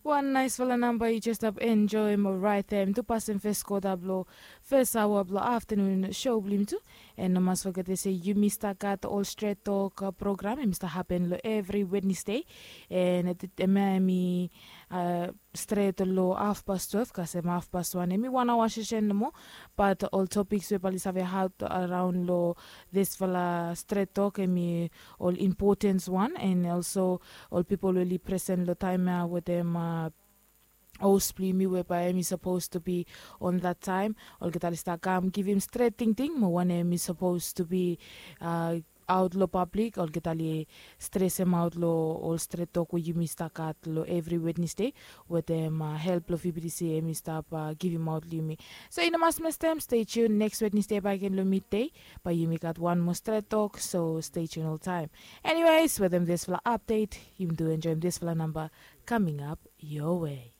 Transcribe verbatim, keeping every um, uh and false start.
Wan naisfala namba yu jes stap enjoem, orait em tu pasin fes kota blong fes aoa blong aftanun show blong yumi tu. And no mas foget se yumi stap gat ol stret tok program em i stap hapen long evri wednesday. And em ya em i stret long hafpas twelve kasem hafpas wan em i wan aoa sesen nomo. Bat ol topiks we bali save haot araon long disfala stret tok em i ol impotens wan and olso ol pipol we oli presen long taem ya wetem os blong yumi we bae em i sapos tu bi on that taem. Olgeta oli stap kam givim stret tingting mo wanem em i sapos tu bi aot long pablik olgeta oli stresemaot long ol stret tok we yumi stap gat long evri wednesde wetem help blong fibidisi em i stap givimaot long yumi. So i no mas mestem, stay tune next wednesde bae gen long midday. Bae yumi gat wan moa stret tok, so stay tune oltaem. Anyways, wetem disfala apdet yumi tu enjoem disfala namba kaming ap your way.